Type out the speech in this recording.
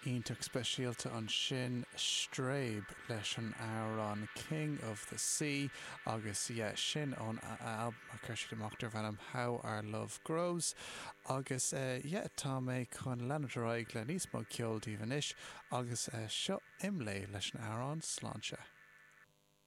Iontach speisialta ansin, Strabe leis an amhrán King of the Sea agus yeah sin ón albam a chuir siad amach darb ainm How Our Love Grows agus yeah tá mé chun leanúint ar aghaidh le níos mó ceoil daoibh anois agus seo Imlé leis an amhrán Sláinte.